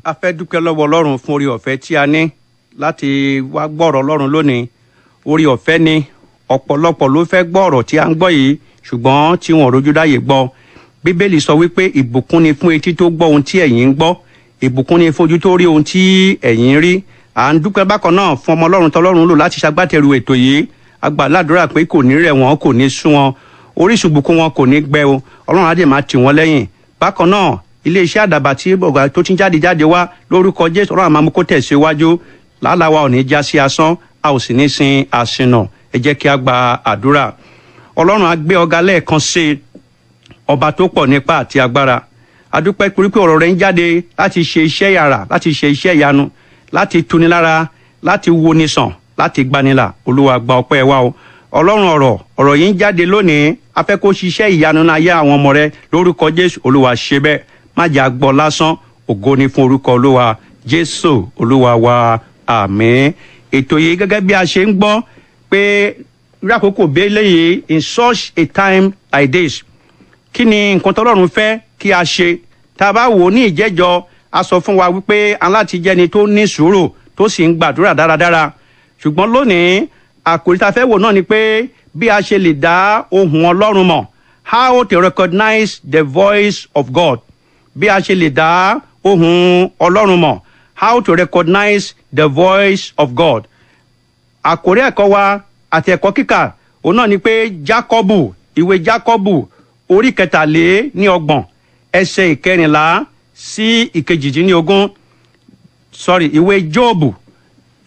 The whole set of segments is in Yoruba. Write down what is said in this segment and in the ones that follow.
A fẹ́ dúpẹ́ lọ́wọ́ Ọlọ́run fún orí ọ̀fẹ́ tí a ní láti wá gbọ́rọ̀ Ọlọ́run lónìí. Orí ọ̀fẹ́ ni. Ọ̀pọ̀lọpọ̀ ló fẹ́ gbọ́ ọ̀rọ̀ tí a ń gbọ́ yìí, ṣùgbọ́n tí wọn ò rójú ráyè gbọ́. Bíbélì sọ wípé ìbùkún ni fún etí tó gbọ́ ohun tí ẹ̀yin ń gbọ́, ìbùkún ni fún ojú tó rí ohun tí ẹ̀yin ń rí. À ń dúpẹ́ bákan náà fún ọmọ Ọlọ́run tọlọ́run lò láti ṣagbátẹrù ètò yìí. A gbà ládùúrà pé kò ní rẹ̀ wọ́n, kò ní sú wọn, orísun ìbùkún wọn kò ní gbẹ o. Ọlọ́run á dẹ̀ máa tì wọ́n lẹ́yìn. Bákan náà, iléeṣẹ́ Àdàbà tí ọ̀gá tó ti ń jáde jáde wá lórúkọ Jésù, Ọlọ́run á máa mú kó tẹ̀síwájú. Làálàá wa ò ní já sí asán, a ò sì ní sin àsìnà. Ẹ jẹ́ kí a gba àdúrà. Ọlọ́run, á gbé ọ̀gá lẹ́ẹ̀kan sí i, ọba tó pọ̀ nípa àti agbára. A dúpẹ́ torí pé ọ̀rọ̀ rẹ̀ ń jáde láti ṣe iṣẹ́ yàrá, láti ṣe iṣẹ́ ìyanu, láti tuni lára, láti woni sàn, láti gbanilà. Olúwa, gba ọpẹ́ wa o. Ọlọ́run ọ̀rọ̀, ọ̀rọ̀ yìí ń jáde lónìí. A fẹ́ kó ṣiṣẹ́ ìyanu náà yá àwọn ọmọ rẹ lórúkọ Jésù. Olúwa, ṣe bẹ́ẹ̀, má jẹ́ a gbọ́ lásán. Ògo ni fún orúkọ Olúwa. Jésù Olúwa wa, àmín. Ètò yìí, gẹ́gẹ́ bí a ṣe ń gbọ́ pé irú àkókò bẹ́ẹ̀ léyìí, in such a time like this, kí ni nǹkan tọ́lọ́run fẹ́ kí a ṣe? Tá a bá wò ó ní ìjẹ́jọ́, a sọ fún wa wípé aláti jẹ́ni tó ní sùúrù, tó sì ń gbàdúrà dáradára. Ṣùgbọ́n lónìí, àkòrí tá a fẹ́ wò náà ni pé bí a ṣe lè dá ohùn Ọlọ́run mọ̀, how to recognize the voice of God. Bí a ṣe lè dá ohùn Ọlọ́run mọ̀, how to recognize the voice of God. Àkórí ẹ̀kọ́ wa àti ẹ̀kọ́ kíkà òun náà ni pé Jákọ́bù, ìwé Jákọ́bù, orí 33, ẹsẹ̀ 14 sí 18. Sorry, ìwé Jóòbù,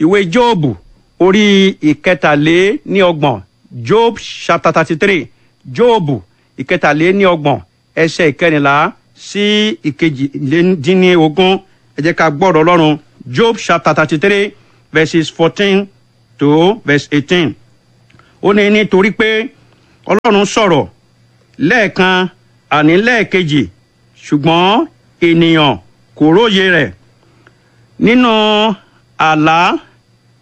ìwé Jóòbù, orí 33, Job chapter 33, Jóòbù 33, ẹsẹ̀ 14 sí 18. Ẹ jẹ́ ká gbọ́rọ̀ Ọlọ́run. Job chapter 33, verses 14 to verse 18. Ó ní, nítorí pé Ọlọ́run sọ̀rọ̀ lẹ́ẹ̀kan, àní lẹ́ẹ̀kejì, ṣùgbọ́n ènìyàn kò róye rẹ̀, nínú àlá,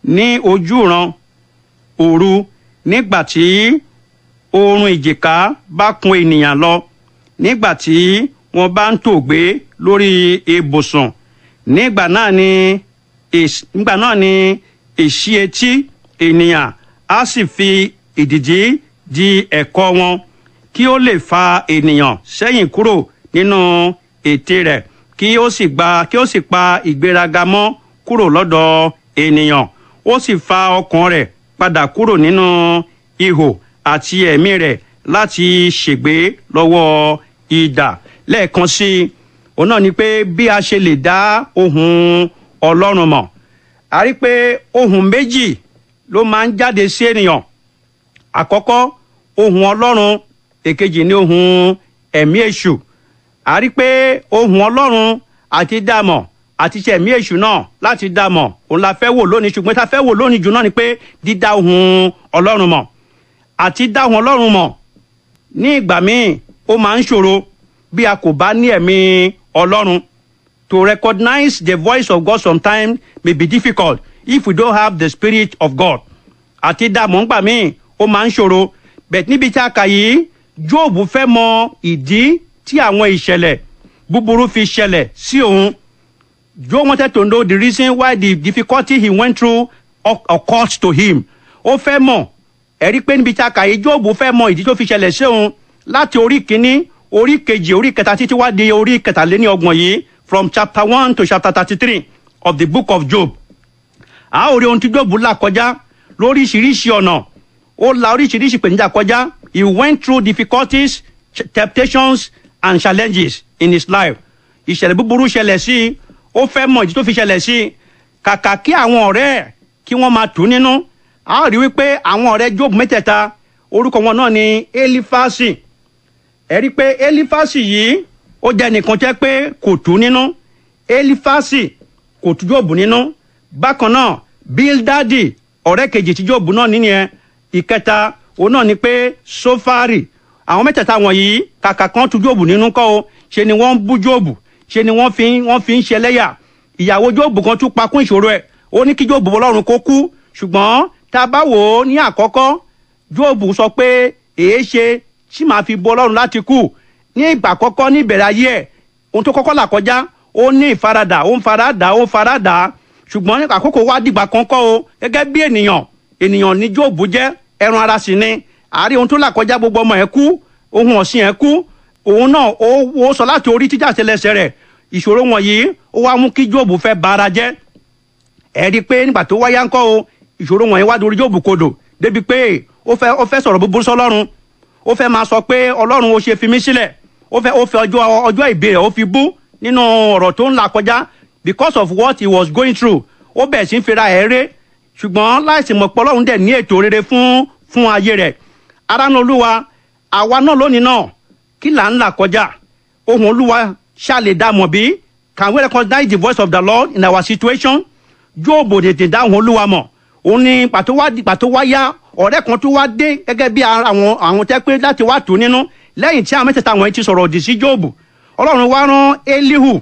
ní ojúran òru, nígbà tí oorun ìjìká bá kún ènìyàn lọ, nígbà tí wọ́n bá ń tòògbé lórí ibùsùn, nígbà náà ni èsì etí ènìyàn á sì fi ìdìdí di ẹ̀kọ́ wọn, kí ó lè fa ènìyàn sẹ́yìn kúrò nínú ète rẹ̀, kí ó sì pa ìgbéraga mọ́ kúrò lọ́dọ̀ ènìyàn, ó sì fa ọkàn rẹ̀ padà kúrò nínú ihò, àti ẹ̀mí rẹ̀ láti ṣègbé lọ́wọ́ idà. Lẹ́ẹ̀kan sí i, òun náà ni pé bí a ṣe lè dá ohùn Ọlọ́run mọ̀. A rí pé ohùn méjì ló máa ń jáde sí ènìyàn. Àkọ́kọ́, ohùn Ọlọ́run. Èkejì ní ohùn ẹ̀mí èṣù. A rí pé ohùn Ọlọ́run àti dàmọ̀ àti ṣe ẹ̀mí èṣù náà láti dàmọ̀, òun la fẹ́ wò lónìí. Ṣùgbọ́n tá a fẹ́ wò lónìí jù náà ni pé dídá ohùn Ọlọ́run mọ̀. Àti dá ohùn Ọlọ́run mọ̀ ní ìgbà míì, ó máa ń ṣòro bí a kò bá ní ẹ̀mí Ọlọ́run. To recognize the voice of God sometimes may be difficult if we don't have the spirit of God. Àti dààmú ńgbà míì, ó máa ń ṣòro. Bẹ́ẹ̀ níbi tí a kà yìí, Jóòbù fẹ́ mọ ìdí tí àwọn ìṣẹ̀lẹ̀ búburú fi ṣẹlẹ̀ sí òun. Job wanted to know the reason why the difficulty he went through occurred to him. Ó fẹ́ mọ̀. Ẹ̀rí pé níbi tí a kà yìí, Jóòbù fẹ́ mọ ìdí tó fi ṣẹlẹ̀ sí òun láti orí 1, orí 2, orí 3, títí wá di orí 33 yìí, from chapter 1 to chapter 33 of the book of Job. A ó rí ohun tí Jóòbù là kọjá lóríṣiríṣi ọ̀nà. Ó la oríṣiríṣi ìpèníjà kọjá. He went through difficulties, temptations and challenges in his life. Ìṣẹ̀lẹ̀ búburú ṣẹlẹ̀ sí i. Ó fẹ́ mọ̀ ìdí tó fi ṣẹlẹ̀ sí i. Kàkà kí àwọn ọ̀rẹ́ ẹ̀ kí wọ́n máa tù ú nínú, a ó rí wípé àwọn ọ̀rẹ́ Job mẹ́tẹ̀ẹ̀ta, orúkọ wọn náà ni Elifasi. Ẹ rí pé Elifasi yìí, ó jẹ́ nìkan jẹ́ pé kò tù ú nínú. Elifasi kò tù Job nínú. Bákan náà, Bildadi, ọ̀rẹ́ kejì tí Job náà nìyẹn. Ìkẹta, òun náà ni pé Sofari. Àwọn mẹ́tẹ̀ẹ̀ta wọ̀nyí, kàkà kan tu Job nínú kọ́ o, ṣe ni wọ́n ń bú Job, ṣe ni wọ́n fi ń ṣe ẹlẹ́yà. Ìyàwó Job kan tún pa kún ìṣòro ẹ̀. Ó ní kí Job Ọlọ́run kó kú. Ṣùgbọ́n tá a bá wò ó ní àkọ́kọ́, Job sọ pé, èé ṣe tí màá fi bọ Ọlọ́run láti kú? Ní ìgbà àkọ́kọ́ ní ìbẹ̀rẹ̀ ayé ẹ̀, ohun tó kọ́kọ́ là kọjá, Ó ní ìfaradà, ó ń faradà, ó ń faradà. Ṣùgbọ́n àkókò wá dìgbà kan kọ́ o, gẹ́gẹ́ bí ènìyàn, ènìyàn ní Jóòbù jẹ́, ẹran ara sì ni. Àárí ohun tó là kọjá, gbogbo ọmọ ẹ̀ kú, ohun ọ̀sìn ẹ̀ kú, òun náà ó sọ láti orí títà tẹlẹsẹ̀ rẹ̀. Ìṣòro wọ̀nyí ó wá mú kí Jóòbù fẹ́ bara jẹ́. Ẹ rí i pé nígbà tó wáyá ńkọ́ o, ìṣòro wọ̀nyí wá dorí Jóòbù kodò débi pé ó fẹ́ sọ̀rọ̀ búburú sọ́lọ́run. Ó fẹ́ máa sọ pé, "Ọlọ́run, ó ṣe fi mí sílẹ̀?" Ó fẹ́ ọjọ́ ìbí rẹ̀ ó fi bú nínú ọ̀rọ̀ tó ń là kọjá. Because of what he was going through, ó bẹ̀rẹ̀ sí ń fira ẹ̀ ré, ṣùgbọ́n láìsí mọ̀ pé Ọlọ́run dẹ̀ ní ètò rere fún ayé rẹ̀. Ará nínú Olúwa, àwa náà lónìí náà, kí là ń là kọjá? Ohùn Olúwa ṣá lè dá mọ̀ bí? Can we recognize the voice of the Lord in our situation? Jóòbù tètè dá ohùn Olúwa mọ̀. Òun ni pàtó wá pàtó wá yá, ọ̀rẹ́ kan tó wá dé gẹ́gẹ́ bí àwọn tẹ́ pé láti wá tù nínú lẹ́yìn tí àwọn mẹ́tẹ̀ẹ̀ta wọ̀nyí ti sọ̀rọ̀ òdì sí Jóòbù. Ọlọ́run wá rán Elihu.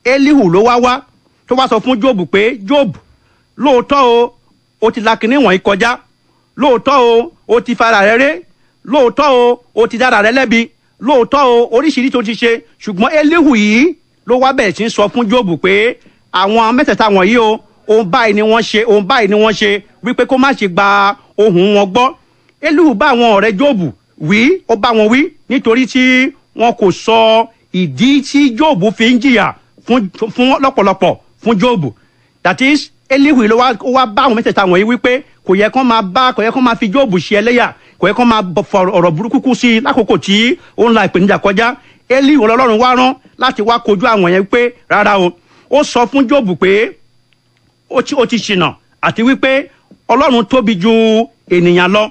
Elihu ló wá wá tó wá sọ fún Jóòbù pé, "Jóòbù, lóòótọ́ o, o ti la kinní wọ̀nyí kọjá. Lóòótọ́ o, o ti fara rẹ ré. Lóòótọ́ o, o ti dára rẹ lẹ́bi. Lóòótọ́ o, oríṣiríṣi tó ti ṣe." Ṣùgbọ́n Elihu yìí ló wá bẹ̀rẹ̀ sí ń sọ fún Jóòbù pé àwọn mẹ́tẹ̀ẹ̀ta wọ̀nyí o, ohun báyìí ni wọ́n ṣe, ohun báyìí ni wọ́n ṣe, wípé kó má ṣe gba ohùn wọn gbọ́. Elihu bá àwọn ọ̀rẹ́ Jóòbù wí, ó bá wọn wí nítorí tí wọn kò sọ ìdí tí Jóòbù fi ń jìyà fún lọ́pọ̀lọpọ̀ fún Jóòbù. That is, Elihu ló wá, ó wá bá àwọn mẹ́tẹ̀ẹ̀ta wọ̀nyí wípé kò yẹ kán máa fi Jóòbù ṣe ẹlẹ́yà, kò yẹ kán máa fọ ọ̀rọ̀ burúkú kú sí i lákòókò tí ó ń la ìpèníjà kọjá. Elihu Ọlọ́run wá rán láti wá kojú àwọn yẹn pé rárá o. Ó sọ fún Jóòbù pé ó ti ṣìnà àti wípé Ọlọ́run tóbi ju ènìyàn lọ.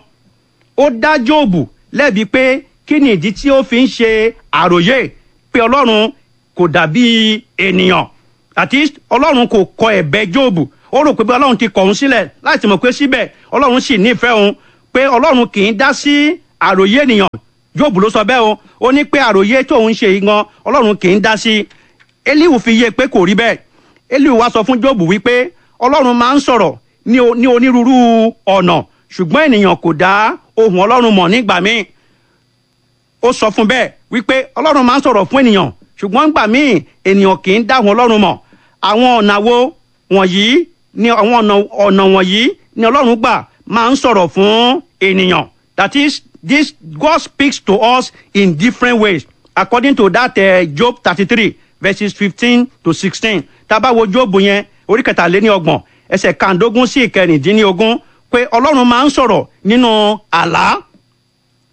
Ó dá Jóòbù lẹ́bi pé kí ni ìdí tí ó fi ń ṣe àròyé pé Ọlọ́run kò dàbí ènìyàn, àti Ọlọ́run kò kọ ẹ̀bẹ̀ Jóòbù. Ó rò pé bí Ọlọ́run ti kọ̀ òun sílẹ̀, láti mọ̀ pé síbẹ̀ Ọlọ́run sì nífẹ̀ẹ́ òun, pé Ọlọ́run kì í dá sí àròyé ènìyàn. Jóòbù ló sọ bẹ́ẹ̀ o. Ó ní pé àròyé tóun ṣe yìí gan, Ọlọ́run kì í dá sí. Elihu fi yé pé kò rí bẹ́ẹ̀. Elihu wá sọ fún Jóòbù wípé Ọlọ́run máa ń sọ̀rọ̀ ní onírúurú ọ̀nà, ṣùgbọ́n ènìyàn kò dá ohùn Ọlọ́run mọ̀ nígbà míì. Ó sọ fún bẹ́ẹ̀ wípé Ọlọ́run máa ń sọ̀rọ̀ fún ènìyàn, ṣùgbọ́n nígbà míì ènìyàn kì í dá ohùn Ọlọ́run mọ̀. Àwọn ọ̀nà wo wọ̀nyí ni àwọn ọ̀nà wọ̀nyí ni Ọlọ́run gbà máa ń sọ̀rọ̀ fún ènìyàn? That is, this God speaks to us in different ways according to that Job 33 verses 15 to 16. Tá a bá wo Job yẹn, orí 33, ẹsẹ̀ 15 sí 16, pé Ọlọ́run máa ń sọ̀rọ̀ nínú àlá.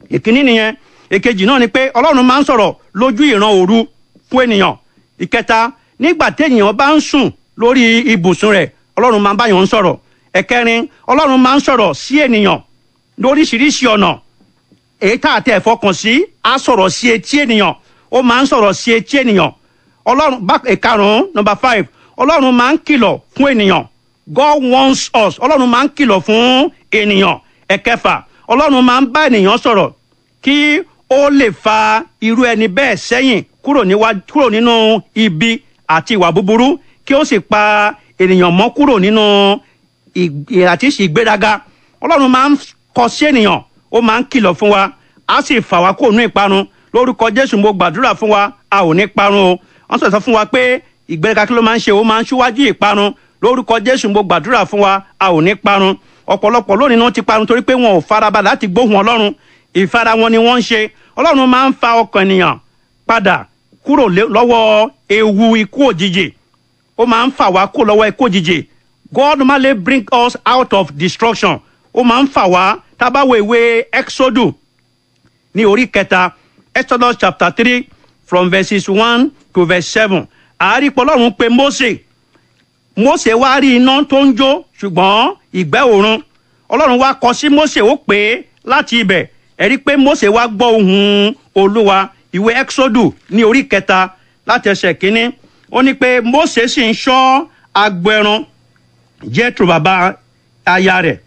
Ìkíní nìyẹn. Èkejì náà ni pé Ọlọ́run máa ń sọ̀rọ̀ lójú ìran òru fún ènìyàn. Ìkẹta, nígbà téèyàn bá ń sùn lórí ibùsùn rẹ̀, Ọlọ́run máa ń báyàn ń sọ̀rọ̀. Ẹ̀kẹrin, Ọlọ́run máa ń sọ̀rọ̀ sí ènìyàn lóríṣiríṣi ọ̀nà èyí tá a tẹ̀ fọkàn sí. Á sọ̀rọ̀ sí etí ènìyàn, ó máa ń sọ̀rọ̀ sí etí ènìyàn Ọlọ́run bá. Ìkarùn-ún, number five, Ọlọ́run máa ń kìlọ̀ fún ènìyàn. God warns us. Ọlọ́run máa ń kìlọ̀ fún ènìyàn. Ẹ̀kẹfà, Ọlọ́run máa ń bá ènìyàn sọ̀rọ̀ kí ó lè fa irú ẹni bẹ́ẹ̀ sẹ́yìn kúrò níwájú, kúrò nínú ibi àti ìwà búburú, kí ó sì pa ènìyàn mọ́ kúrò nínú àti ìgbéraga. Ọlọ́run máa ń kọ sí ènìyàn, ó máa ń kìlọ̀ fún wa, á sì fà wá kó nínú ìparun. Lórúkọ Jésù, mo gbàdúrà fún wa, a ò ní parun o. Wọ́n sọ̀rọ̀ fún wa pé ìgbéraga, kí ló máa ń ṣe? Ó máa ń ṣíwájú ìparun. Lórúkọ Jésù, mo gbàdúrà fún wa, a ò ní parun. Ọ̀pọ̀lọpọ̀ lónìí náà ti parun torí pé wọn ò farabalẹ̀ láti gbóhùn Ọlọ́run. Ìfara wọn ni wọ́n ń ṣe. Ọlọ́run máa ń fa ọkàn ènìyàn padà kúrò lọ́wọ́ ewu ikú òjijì. Ó máa ń fà wá kúrò lọ́wọ́ ikú òjijì. God normally bring us out of destruction. Ó máa ń fà wá. Tá a bá wo ìwé Exodus ní orí 3, Exodus chapter 3 from verses 1 to verse 7, àárípọ̀ Ọlọ́run pé Mósè. Mósè wá rí iná tó ń jó, ṣùgbọ́n ìgbẹ́ òrun. Ọlọ́run wá kọ sí Mósè, ó pè é láti ibẹ̀. Ẹ̀rí pé Mósè wá gbọ́ ohùn Olúwa. Ìwé Exodus ní orí 3 láti ẹsẹ̀ 1, ó ní pé Mósè sì ń ṣọ́ agbo ẹran Jethro, bàbá aya rẹ̀,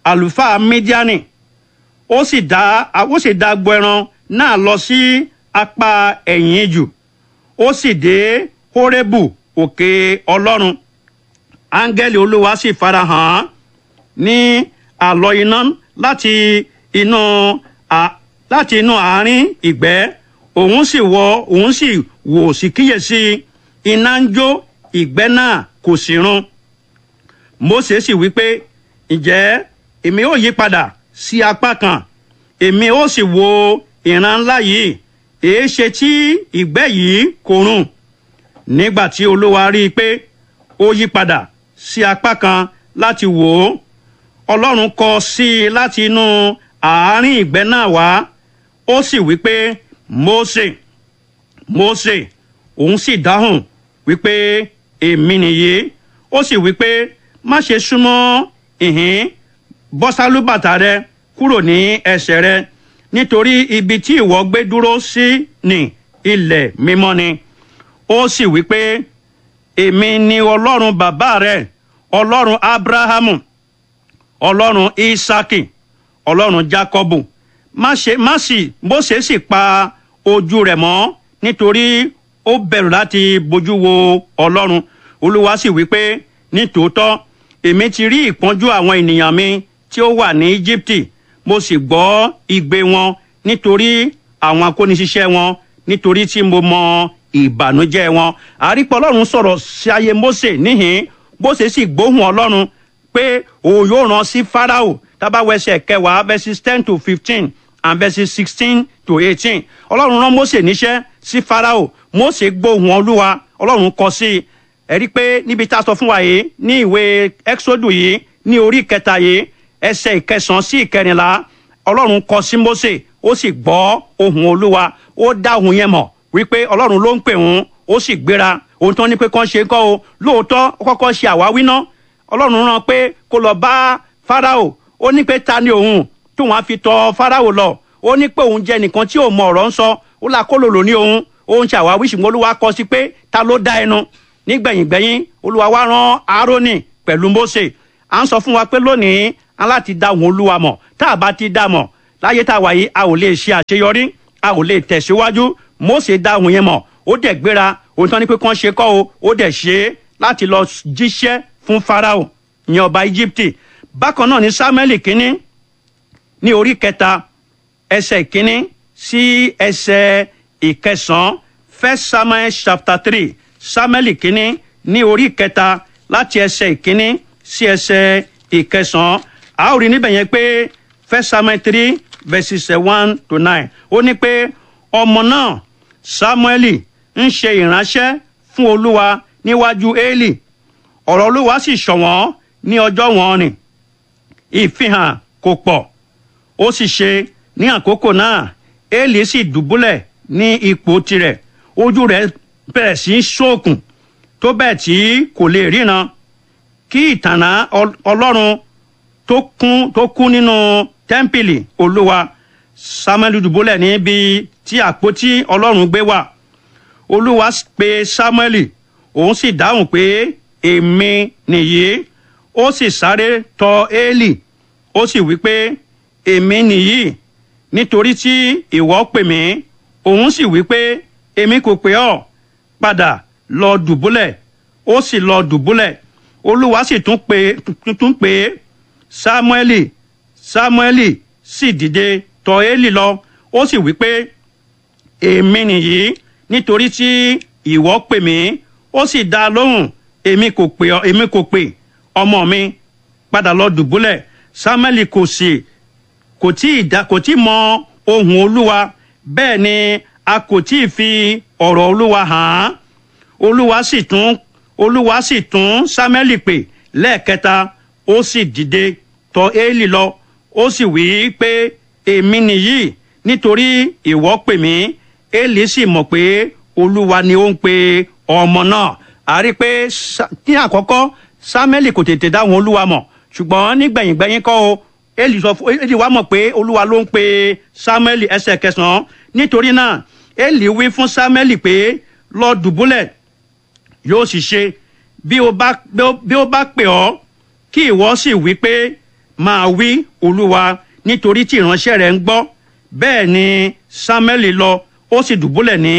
àlùfáà Mídíánì. Ó sì dá agbo ẹran náà lọ sí apá ẹ̀yìn ijù. Ó sì dé Hórebù, òkè Ọlọ́run. Áńgẹ́lì Olúwa sì farahàn án ní àlọ́ iná láti inú àárín ìgbẹ́. Òun sì wò, sì kíyèsí Iná ń jó, ìgbẹ́ náà kò sì run. Mósè sì wí pé, ǹjẹ́ èmi ó yí padà sí apá kan, èmi ó sì wo ìran ńlá yìí, èéṣe tí ìgbẹ́ yìí kò run? Nígbà tí Olúwa rí i pé ó yí padà sí apá kan láti wò ó, Ọlọ́run kọ sí i láti inú àárín ìgbẹ́ náà wá, ó sì wí pé, Mósè, Mósè. Òun sì dáhùn wípé, èmi nìyí. Ó sì wípé, má ṣe súnmọ́ ìhín, bọ́ sálúbàtà rẹ kúrò ní ẹsẹ̀ rẹ, nítorí ibi tí ìwọ gbé dúró sí ní ilẹ̀ mímọ́ ni. Ó sì wípé, èmi ni Ọlọ́run bàbá rẹ, Ọlọ́run Ábúráhámù, Ọlọ́run Ísákì, Ọlọ́run Jákọ́bù. Má ṣe má sì Mósè sì pa ojú rẹ̀ mọ́, nítorí ó bẹ̀rù láti bójú wo Ọlọ́run. Olúwa sì wí pé, nítòótọ́ èmi ti rí ìpọ́njú àwọn ènìyàn mi tí ó wà ní Íjíbítì, mo sì gbọ́ igbe wọn nítorí àwọn akóniṣiṣẹ́ wọn, nítorí tí mo mọ ìbànújẹ́ wọn. Àrípọ̀ Ọlọ́run sọ̀rọ̀ sí ayé Mósè níhìn, Mósè sì gbóhùn Ọlọ́run pé òun yóò rán sí Fáráò. Tá bá wo ẹsẹ̀ 10, verses 10 to 15 and verses 16 to 18, Ọlọ́run rán Mósè níṣẹ́ sí Fáráò. Mósè gbóhùn Olúwa, Ọlọ́run kọ sí i. Ẹ rí i pé níbi tá a sọ fún wa yìí ní ìwé Exodus yìí ní orí 3 yìí, ẹsẹ̀ 9 sí 14, Ọlọ́run kọ sí Mósè, ó sì gbọ́ ohùn Olúwa. Ó dá ohùn yẹn mọ̀ wípé Ọlọ́run ló ń pè òun. Ó sì gbéra. Ohun tó ní pé kán ṣe kọ́ o, lóòótọ́ ó kọ́kọ́ ṣe àwáwí ná. Ọlọ́run rán pé kó lọ bá Fáráò. Ó ní pé ta ni òun tí òun á fi tọ̀ Fáráò lọ? Ó ní pé òun jẹ́ nìkan tí ò mọ ọ̀rọ̀ ń sọ, ó là kó lòlò ní òun. Ó ń ṣe àwáwí, ṣùgbọ́n Olúwa kọ sí pé ta ló dá ẹnu? Nígbẹ̀yìngbẹ̀yìn, Olúwa wá rán Árónì pẹ̀lú Mósè. À ń sọ fún wa pé lónìí a láti dá òun Olúwa mọ̀. Tá a bá ti dá mọ̀ láyé tá a wà yìí, a ò lè ṣe àṣeyọrí, a ò lè tẹ̀síwájú. Mósè dá òun yẹn mọ̀, ó dẹ̀ gbéra. Ohun tó ní pé kán ṣe kọ́ o, ó dẹ̀ ṣe é láti lọ jíṣẹ́ fún Fáráò, ìyẹn ọba Íjíbítì. Bákan náà ní Sámúẹ́lì kínní ní orí 3, ẹsẹ̀ 1 sí ẹsẹ̀ 9, First Samuel chapter 3, Sámúẹ́lì kínní ní orí 3 láti ẹsẹ̀ 1 sí ẹsẹ̀ 9, a ó rí níbẹ̀ yẹn pé First Samuel 3 verses 1 to 9, ó ní pé ọmọ náà Sámúẹ́lì ń ṣe ìránṣẹ́ fún Olúwa níwájú Élì. Ọ̀rọ̀ Olúwa sì ṣọ̀wọ́n ní ọjọ́ wọn ni, ìfihàn kò pọ̀. Ó sì ṣe ní àkókò náà, Élì sì dùbúlẹ̀ ní ipò tirẹ̀, ojú rẹ̀ bẹ̀rẹ̀ sí í ṣókùn tó bẹ́ẹ̀ tí kò lè ríran kí ìtànná Ọlọ́run tó kún nínú tẹ́ḿpìlì Olúwa. Samuel dùbúlẹ̀ níbi tí àpótí Ọlọ́run gbé wà. Olúwa pe Samuel, òun sì dáhùn pé, èmi nìyí. Ó sì sáré tọ̀ Élì, ó sì wí pé, èmi nìyí, nítorí tí ìwọ pè mí. Òun sì wí pé, èmi kò pè ọ́, padà lọ dùbúlẹ̀. Ó sì lọ dùbúlẹ̀. Olúwa sì tún pè, Sámúẹ́lì, Sámúẹ́lì. Sì dìde tọ̀ Élì lọ, ó sì wí pé, èmi nìyí, nítorí tí ìwọ pè mí. Ó sì dá a lóhùn, èmi kò pè ọ́, èmi kò pè, ọmọ mi, padà lọ dùbúlẹ̀. Sámúẹ́lì kò sì kò tí ì dá kò tí ì mọ ohùn Olúwa, bẹ́ẹ̀ ni a kò tí ì fi ọ̀rọ̀ Olúwa hàn án. Olúwa sì tún Sámúẹ́lì pè lẹ́ẹ̀kẹta. Ó sì dìde tọ̀ Élì lọ, ó sì wí pé, èmi nìyí, nítorí ìwọ pè mí. Élì sì mọ̀ pé Olúwa ni ó ń pe ọmọ náà. A rí pé ní àkọ́kọ́ Sámúẹ́lì kò tètè dáhùn Olúwa mọ̀, ṣùgbọ́n nígbẹ̀yìngbẹ̀yìn kọ́ o, Élì sọ fún Élì wá mọ̀ pé Olúwa ló ń pe Sámúẹ́lì. Ẹsẹ̀ 9, nítorí náà Élì wí fún Sámúẹ́lì pé, lọ dùbúlẹ̀, yóò sì ṣe bí ó bá pè ọ́, kí ìwọ sì wí pé, máa wí, Olúwa, nítorí tí ìránṣẹ́ rẹ̀ ń gbọ́. Bẹ́ẹ̀ ni Sámúẹ́lì lọ, ó sì dùbúlẹ̀ ní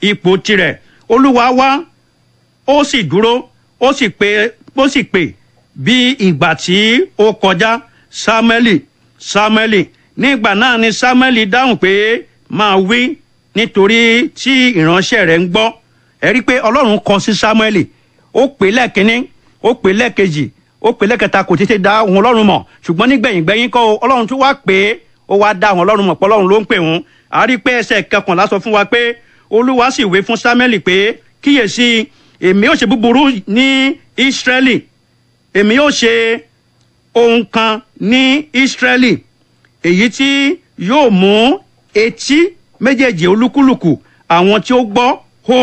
ipò tirẹ̀. Olúwa wá, ó sì dúró, ó sì pè bí ìgbà tí ó kọjá, Sámúẹ́lì, Sámúẹ́lì. Nígbà náà ni Sámúẹ́lì dáhùn pé, máa wí, nítorí tí ìránṣẹ́ rẹ̀ ń gbọ́. Ẹ rí i pé Ọlọ́run kọ sí Samuel, ó pè lẹ́ẹ̀kínní, ó pè lẹ́ẹ̀kejì, ó pè lẹ́ẹ̀kẹta, kò tètè dá ohùn Ọlọ́run mọ̀. Ṣùgbọ́n nígbẹ̀yìngbẹ̀yìn kọ́ o, Ọlọ́run tún wá pè é, ó wá dá ohùn Ọlọ́run mọ̀ pé Ọlọ́run ló ń pè òun. A rí i pé ẹsẹ̀ 11 sọ fún wa pé Olúwa sì wí fún Samuel pé, kíyèsí, èmi ó ṣe búburú ní Ísírẹ́lì, èmi ó ṣe ohun kan ní Ísírẹ́lì èyí tí yóò mú etí méjèèjì olúkúlùkù àwọn tí ó gbọ́ hó.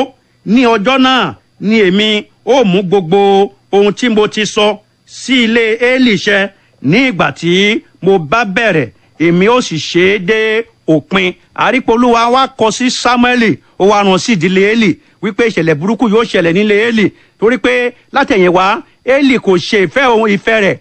Ní ọjọ́ náà ni èmi ó mú gbogbo ohun tí mo ti sọ sí ilé Élì ṣẹ ní ìgbà tí mo bá bẹ̀rẹ̀, èmi ó sì ṣe é dé òpin. Àrípolúwa wa kọ sí Sámúẹ́lì, ó wá rán sí ìdílé Élì wípé ìṣẹ̀lẹ̀ burúkú yóò ṣẹlẹ̀ nílé Élì, torí pé látẹ̀yìnwá Élì kò ṣe ìfẹ́ òun ìfẹ́ rẹ̀,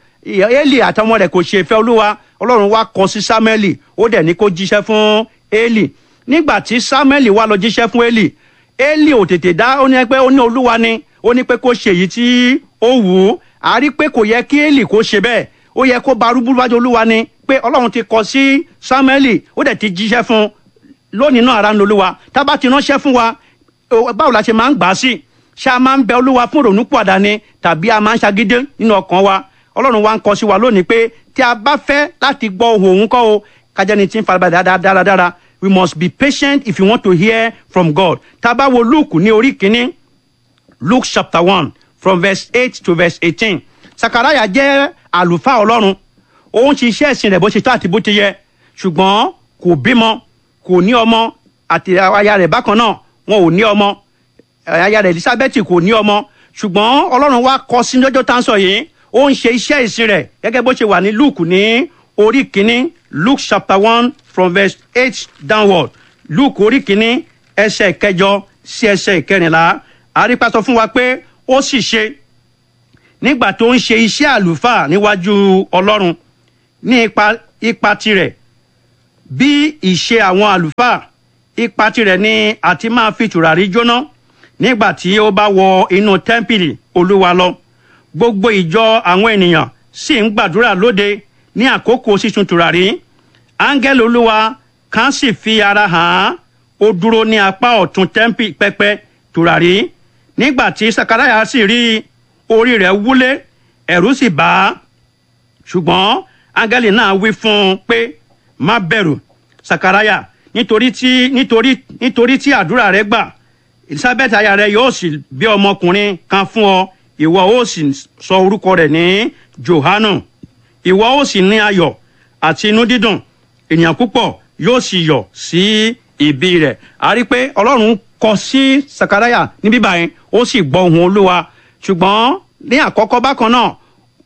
Élì àtọmọ rẹ̀ kò ṣe ìfẹ́ Olúwa. Ọlọ́run wá kọ sí Sámúẹ́lì, ó dẹ̀ ní kó jíṣẹ́ fún Élì. Nígbà tí Sámúẹ́lì wá lọ jíṣẹ́ fún Élì, Élì ò tètè dá, ó ní pé ó ní Olúwa ni ó ní pé kó ṣe èyí tí ó wù ú. A rí pé kò yẹ kí Élì kó ṣe bẹ́ẹ̀, ó yẹ kó barúbú wájú Olúwa ni pé Ọlọ́run ti kọ sí Sámúẹ́lì, ó dẹ̀ ti jíṣẹ́ fún un. Lónìí náà, ara ń lo Olúwa. Tá bá ti ránṣẹ́ fún wa, báwo la ṣe máa ń gbà á sí? Ṣé a máa ń bẹ Olúwa fún ìrònúpìwàdà ni, tàbí a máa ń ṣagídé nínú ọkàn wa? Ọlọ́run wa ń kọ sí wa lónìí pé tí a bá fẹ́ láti gbọ́ ohùn òun kọ́ o, kájẹ́ni tí ń farabalẹ̀ dáradára. We must be patient if you want to hear from God. Tá a bá wo Luke ní orí 1, Luke chapter 1 from verse 8 to verse 18, Sakaraya jẹ́ àlùfáà Ọlọ́run. Ó ń ṣiṣẹ́ ìsìn rẹ̀ bó ṣe tó àti bó ti yẹ, ṣùgbọ́n kò bímọ, kò ní ọmọ, àti aya rẹ̀ bákan náà, wọn ò ní ọmọ. Aya rẹ̀ Elizabeth kò ní ọmọ. Ṣùgbọ́n Ọlọ́run wá kọ sí lọ́jọ́ tá à ń sọ yìí, ó ń ṣe iṣẹ́ ìsìn rẹ̀ gẹ́gẹ́ bó ṣe wà ní Luke ní orí 1, Luke chapter 1 from verse 8 downward. Luke orí 1, ẹsẹ̀ 8 sí ẹsẹ̀ 14, àrípa sọ fún wa pé ó sì ṣe nígbà tó ń ṣe iṣẹ́ àlùfáà níwájú Ọlọ́run ní ipa tirẹ̀ bí ìṣe àwọn àlùfáà, ipa tirẹ̀ ni àti máa fi tùràrí jóná nígbà tí ó bá wọ inú tẹ́ḿpìlì Olúwa lọ. Gbogbo ìjọ àwọn ènìyàn sì ń gbàdúrà lóde ní àkókò sísun tùràrí. Áńgẹ́lì Olúwa kan sì fi ara hàn án, ó dúró ní apá ọ̀tún tẹ́ḿpì pẹpẹ tùràrí. Nígbà tí Sakaraya sì rí i, orí rẹ̀ wúlé, ẹ̀rù sì bà á. Ṣùgbọ́n áńgẹ́lì náà wí fún un pé, má bẹ̀rù, Sakaraya, nítorí tí àdúrà rẹ gbà. Elizabeth aya rẹ yóò sì bí ọmọkùnrin kan fún ọ, ìwọ ó sì sọ orúkọ rẹ̀ ní Johanu. Ìwọ ó sì ní ayọ̀ àti inú dídùn, ènìyàn púpọ̀ yóò sì yọ̀ sí ìbí rẹ̀. A rí i pé Ọlọ́run kọ sí Sakaraya níbí báyìí, ó sì gbọ́ ohùn Olúwa. Ṣùgbọ́n ní àkọ́kọ́ bákan náà,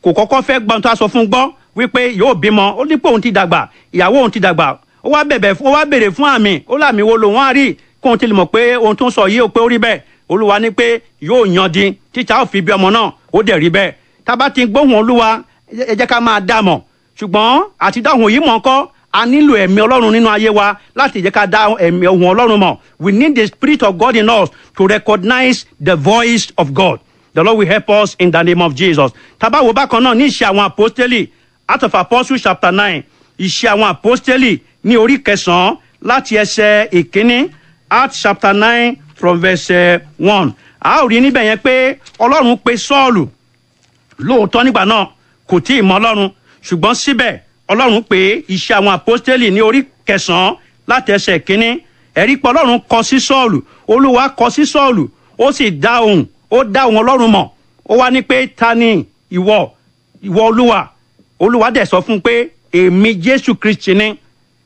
kò kọ́kọ́ fẹ́ gbọ́n tó a sọ fún gbọ́ wípé yóò bímọ. Ó ní pé òun ti dàgbà, ìyàwó òun ti dàgbà. Ó wá bẹ̀bẹ̀, ó wá béèrè fún àmì. Ó lámì wo lòun á rí kóun ti lè mọ̀ pé ohun tó ń sọ yìí ó pé ó rí bẹ́ẹ̀? Olúwa ní pé yóò yan di títa ó fi bí ọmọ náà, ó dẹ̀ rí bẹ́ẹ̀. Tá a bá ti gbóhùn Olúwa, ẹ jẹ́ ká máa dá mọ̀. Ṣùgbọ́n àti dáhùn yìí mọ̀ ńkọ́, a nílò ẹ̀mí Ọlọ́run nínú ayé wa láti jẹ́ ká dá ẹ̀mí ohùn Ọlọ́run mọ̀. We need the spirit of God in us to recognize the voice of God. The Lord will help us in the name of Jesus. Tá bá wo bákan náà ní Ìṣe Àwọn Àpọ́stélì, Acts of Apostles chapter 9, Ìṣe Àwọn Àpọ́stélì ní orí 9 láti ẹsẹ̀ 1, Acts chapter 9 from verse 1, a ó rí níbẹ̀ yẹn pé Ọlọ́run pe Sọ́ọ̀lù. Lóòótọ́, nígbà náà kò tí ì mọ Ọlọ́run, ṣùgbọ́n síbẹ̀ Ọlọ́run pé. Iṣẹ́ Àwọn Àpọ́stélì ní orí 9 láti ẹsẹ̀ 1, ẹ̀rí pé Ọlọ́run kọ sí Sọ́ọ̀lù, Olúwa kọ sí Sọ́ọ̀lù, ó sì dá ohùn, ó dá ohùn Ọlọ́run mọ̀. Ó wá ní pé, ta ni ìwọ, ìwọ Olúwa? Olúwa dẹ̀ sọ fún un pé, èmi Jésù Kristi ni,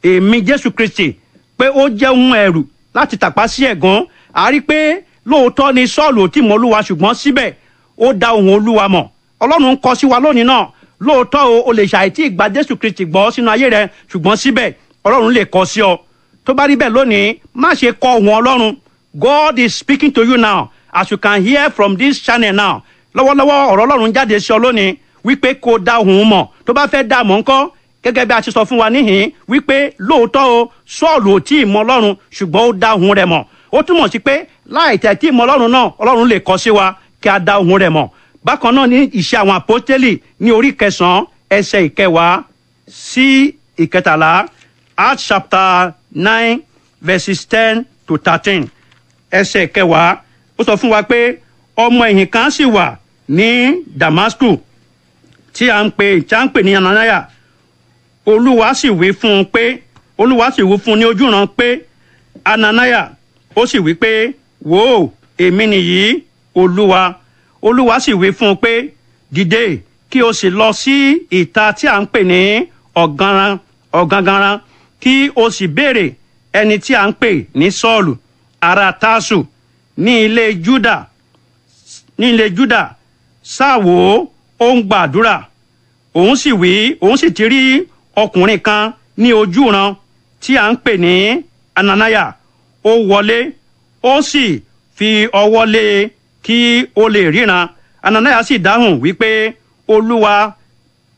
èmi Jésù Kristi, pé ó jẹ́ ohun ẹ̀rù láti tàpá sí ẹ̀gún. A rí pé lóòótọ́ ni Sọ́ọ̀lù ò tí mọ Olúwa, ṣùgbọ́n síbẹ̀ ó dá ohùn Olúwa mọ̀. Ọlọ́run ń kọ sí wa lónìí náà. Lóòótọ́ o, o lè ṣàìtí ìgbà Jésù Kristi gbọ́ sínú ayé rẹ, ṣùgbọ́n síbẹ̀ Ọlọ́run lè kọ sí ọ. Tó bá rí bẹ́ẹ̀ lónìí, má ṣe kọ ohùn Ọlọ́run. God is speaking to you now as you can hear from this channel now. Lọ́wọ́lọ́wọ́, ọ̀rọ̀ Ọlọ́run jáde sí ọ lónìí wípé kó dá ohùn mọ̀. Tó bá fẹ́ dá mọ̀ ńkọ́? Gẹ́gẹ́ bí a ti sọ fún wa níhìn wípé lóòótọ́ o, Sọ́ọ̀lù ò tí ì mọ Ọlọ́run, ṣùgbọ́n ó dá ohùn rẹ̀ mọ̀. Ó túmọ̀ sí pé láì tẹ̀ tí ì mọ Ọlọ́run náà, Ọlọ́run lè kọ sí wa kí a dá ohùn rẹ̀ mọ̀. Bákan náà ní Ìṣe Àwọn Àpọ́stélì ní orí 9, ẹsẹ̀ 10 sí 13, Acts chapter 9 verses 10 to 13, ẹsẹ̀ 10. Ó sọ fún wa pé ọmọ ẹ̀yìn kan sì wà ní Damasku tí a ń pè ní Ananaya. Olúwa sì wí fún un pé, Olúwa sì wí fún un ní ojúran pé, "Ananaya." Ó sì wí pé, "Wò ó, èmi nìyí, Olúwa." Olúwa sì wí fún un pé, "Dìde, kí o sì lọ sí ìta tí a ń pè ní Ọ̀ganran Ọ̀ganganran, kí o sì béèrè ẹni tí a ń pè ní Sọ́ọ̀lù ará Tásù ní ilé Júdà. Sáà wò ó, ó ń gbàdúrà. Òun sì wí, òun sì ti rí ọkùnrin kan ní ojúran tí a ń pè ní Ananaya. Ó wọlé, ó sì fi ọwọ́ lé e kí ó lè ríran." Ananaya sì dáhùn wípé, "Olúwa,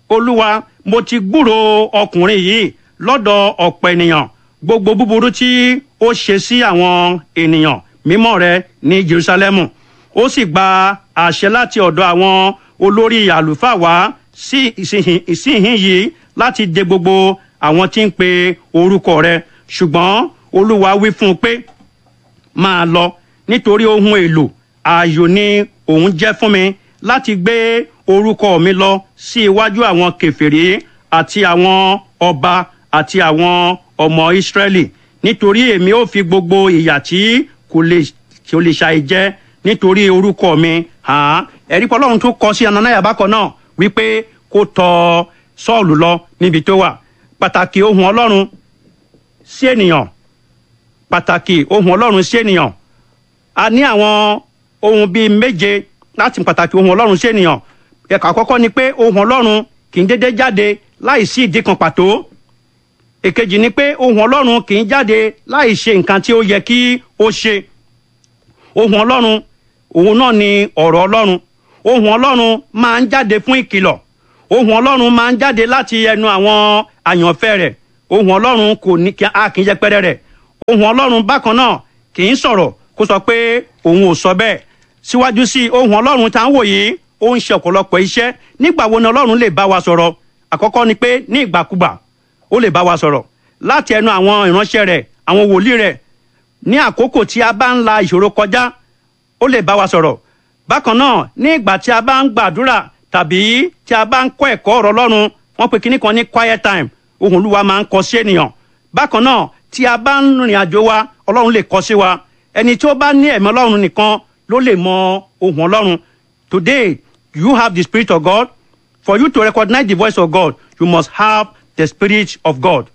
Olúwa, mo ti gbúròó ọkùnrin yìí lọ́dọ̀ ọ̀pọ̀ ènìyàn, gbogbo búburú tí ó ṣe sí àwọn ènìyàn mímọ́ rẹ ní Jerusalemu. Ó sì gba àṣẹ láti ọ̀dọ̀ àwọn olórí àlùfáà wá sí ìsìnyín yìí láti de gbogbo àwọn tí ń pe orúkọ rẹ." Ṣùgbọ́n Olúwa wí fún un pé, "Máa lọ, nítorí ohun èlò ààyò ni òun jẹ́ fún mi láti gbé orúkọ mi lọ sí iwájú àwọn kèfèrí àti àwọn ọba àti àwọn ọmọ Ísírẹ́lì, nítorí èmi ó fi gbogbo ìyà tí kò lè ṣàì jẹ nítorí orúkọ mi hàn án." Ẹ̀rí pé Ọlọ́run tún kọ sí Ananaya bákan náà wípé kó tọ̀ Sọ́ọ̀lù lọ níbi tó wà. Pàtàkì ohùn Ọlọ́run sí ènìyàn. Pàtàkì ohùn Ọlọ́run sí ènìyàn. A ní àwọn ohun bíi méje láti pàtàkì ohùn Ọlọ́run sí ènìyàn. Ẹ̀ka àkọ́kọ́ ni pé ohùn Ọlọ́run kì í dédé jáde láì sí ìdí kan pàtó. Èkejì ni pé ohùn Ọlọ́run kì í jáde láì ṣe nǹkan tí ó yẹ kí ó ṣe. Ohùn Ọlọ́run, òun náà ni ọ̀rọ̀ Ọlọ́run. Ohùn Ọlọ́run máa ń jáde fún ìkìlọ̀. Ohùn Ọlọ́run máa ń jáde láti ẹnu àwọn àyànfẹ́ rẹ̀. Ohùn Ọlọ́run kò ní kí a kì í yẹpẹrẹ rẹ̀. Ohùn Ọlọ́run bákan náà kì í sọ̀rọ̀ kó sọ pé òun ò sọ bẹ́ẹ̀. Síwájú sí, ohùn Ọlọ́run tá ń wò yìí, ó ń ṣe ọ̀pọ̀lọpọ̀ iṣẹ́. Nígbà wo ni Ọlọ́run lè bá wa sọ̀rọ̀? Àkọ́kọ́ ni pé ní ìgbàkúgbà ó lè bá wa sọ̀rọ̀ láti ẹnu àwọn ìránṣẹ́ rẹ̀, àwọn wòlíì rẹ̀. Ní àkókò tí a bá ń la ìṣòro kọjá, ó lè bá wa sọ̀rọ̀. Bákan náà, ní ìgbà tí a bá ń gbàdúrà tàbí tí a bá ń kọ́ ẹ̀kọ́ ọ̀rọ̀ Ọlọ́run, wọ́n pe kinní kan ní quiet time, ohùn Olúwa máa ń kọ sí ènìyàn. Bákan náà, tí a bá ń rìnrìn àjò wa, Ọlọ́run lè kọ sí wa. Ẹni tí ó bá ní ẹ̀mí Ọlọ́run nìkan ló lè mọ ohùn Ọlọ́run. Today you have the Spirit of God. For you to recognize the voice of God, you must have the Spirit of God.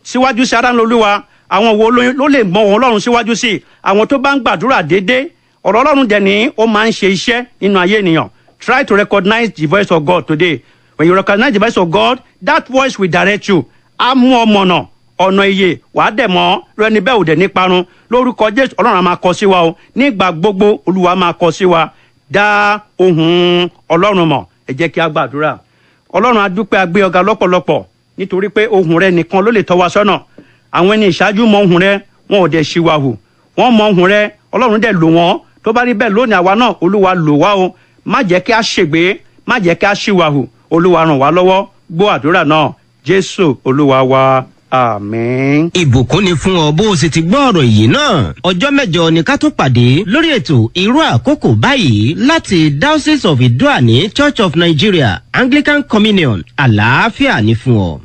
Síwájú sí, ara ń lolúwa, àwọn wo ló lè mọ ohùn Ọlọ́run síwájú sí? Àwọn tó bá ń gbàdúrà déédéé. Ọ̀rọ̀ Ọlọ́run dẹ̀ ní ó máa ń ṣe iṣẹ́ nínú ayé ènìyàn. Try to recognize the voice of God today. When you recognize the voice of God, that voice will direct you. Á mú ọ mọ̀nà ọ̀nà ìyè, wàá dẹ̀ mọ́ rẹni bẹ́ẹ̀ ò dẹ̀ ní parun lórúkọ Jésù. Ọlọ́run á máa kọ sí wa o. Nígbà gbogbo, Olúwa máa kọ sí wa. Dá ohùn Ọlọ́run mọ̀. Ẹ jẹ́ kí a gbàdúrà. Ọlọ́run, a dúpẹ́, a gbé ọ̀gá lọ́pọ̀lọpọ̀, nítorí pé ohùn rẹ nìkan ló lè tọ́ wa sọ́nà. Àwọn ẹni ìṣáájú mọ ohùn rẹ, wọn ò dẹ̀ ṣìwàhù. Wọ́n mọ ohùn rẹ, Ọlọ́run dẹ̀ lò wọ́n. Tó bá rí bẹ́ẹ̀ lónìí, àwa náà, Olúwa, lò wá o. Má jẹ́ kí a ṣègbé, má jẹ́ kí a ṣìwàhù. Olúwa, ràn wá lọ́wọ́. Gbọ́ àdúrà náà, Jésù Olúwa wa. Àmín. Ìbùkún ni fún ọ bó o sì ti gbọ́ ọ̀rọ̀ yìí náà. Ọjọ́ 8 ni ká tún pàdé lórí ètò irú àkókò báyìí láti Diocese of Idoani, Church of Nigeria, Anglican Communion. Àlàáfíà ni fún ọ.